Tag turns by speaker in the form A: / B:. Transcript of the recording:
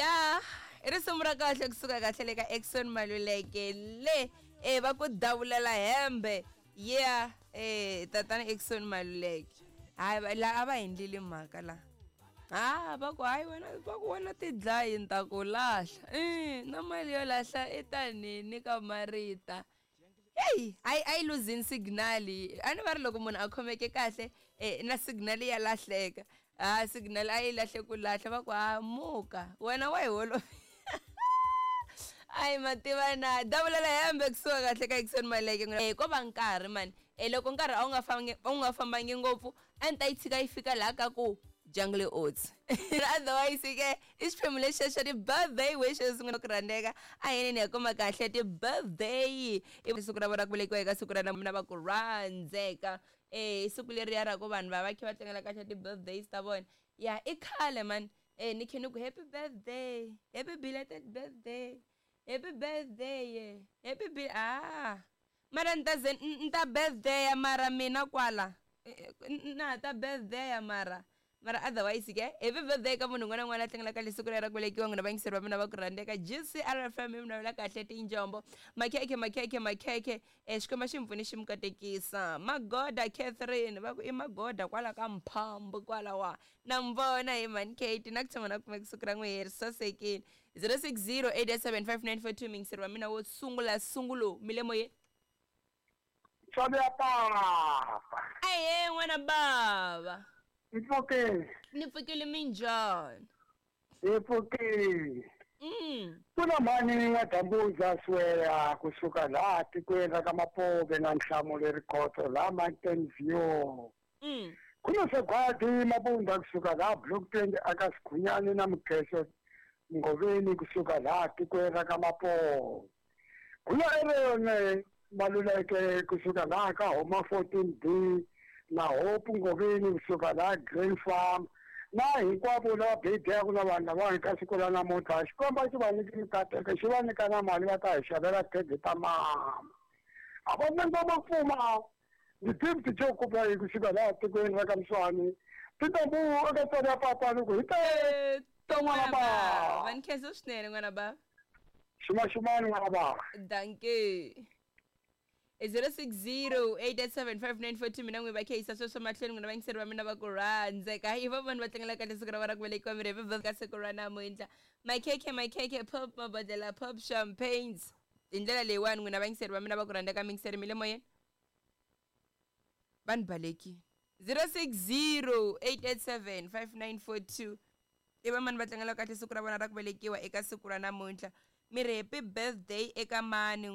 A: Ya, i risimu ra kahle kusuka kahle le ka Exxon Maluleke le e va ku davulela hembe. Yeah, tatana Exxon Maluleke. Hayi la a va endlile mhaka la. Ha va ku hayi wena va ku wena tidlayi ni ta ku lahla. Na mali yo lahla i tanini ka marita. Heyi a yi luzini signal a ni va ri loko munhu a khomeke kahle na signal ya lahleka ha signal a yi lahle ku lahla va ku ha muka wena wa hi holovi ayi mativa na davulela hembe kusuka kahle ka Exxon Maleke ko va nkarhi mani loko nkarhi a wu nga fambangi a wu nga fambangi ngopfu a ni ta yi tshika yi fika laha ka ku Jungle Oats otherwise ke i xiphemu lexiya xa ti-birthday wishes n'wina ku rhandzeka a hi yeni hi ya kuma kahle ti-birthday i siku ra vona ra ku velekiwa eka siku ra namuntlha va ku rhandzeka i siku leriya ra ku vanhu va va kha va tlangela kahle ti-birthdays ta vona ya i khale mani ni khe ni ku happy birthday happy belated birthday happy birthday happy be ah mara ni ta ze ni ta birthday mara mina kwala na ha ta birthday mara mara otherwise ke happy birthday ka munhu un'wana na un'wana a tlangelaka le siku ra ku velekiwa n'wina vayingiseri va mina va ku rhandzeka GCRFM mi navela kahle tinjombo makhekhe makhekhe makhekhe Xikwembu xi mi pfuni xi mi katekisa magoda Catherine va ku i magoda kwala ka mphambu kwalawa na mi vona hi mhani Kate na ku tshama na kumeka siku ra n'wehe ri sasekile 060 887 5942 muyingiseri wa mina wo sungula sungulo mi le moyeni
B: Ntswalo ya papa.
A: Ahee n'wana bava.
B: Ni pfukile.
A: Ni pfukile minjhani?
B: Hi pfukile. Ku na mhani N'wa-Dambuza Siweya kusuka laha tikweni ra ka Mapobe na Nhlamulo Rikhotso laha Mountain View. Ku na Sagwadi Mabunda kusuka laha Block 20 aka Sikhunyani na Mukheso Ngoveni kusuka laha tikweni ra ka Mapobe. Ku na Erone Maluleke kusuka laha ka Homa 14B na Hope Ngoveni kusuka laha Green Farm na hinkwavo lava bebyaku na vanhu lavawani ka siku ra namuntlha Xikwembu a xi va nyiki mikateko xi va nyika na mali va ta hi xavela khege ta mama a va nangoma pfuma Ndi Gift Joe Kubayi kusuka laha tikweni ra ka Mswani Tintombu eka tswari ya papa ni ku hi te
A: to n'wana bava va ni khensa swinene n'wana bava
B: xumaxumani n'wana bava
A: danke i 0608875942 mina n'wi va kheyisa sweswo mahlweni n'wina vayingiseri va mina va ku rhandzeka i va vanhu va tlangela kahle siku ra vona ku velekiwa miri hi ka siku ra namuntlha makhekhe makhekhe pop mabodlela pop champagnes hi ndlela leyiwani n'wina vayingiseri va mina va ku rhandzeka miyingiseri mi le moyeni va ni balekile 060 887 5942 i va mani va tlangela kahle siku ra vona ra ku velekiwa eka siku ra namuntlha mi ri happy birthday eka mani.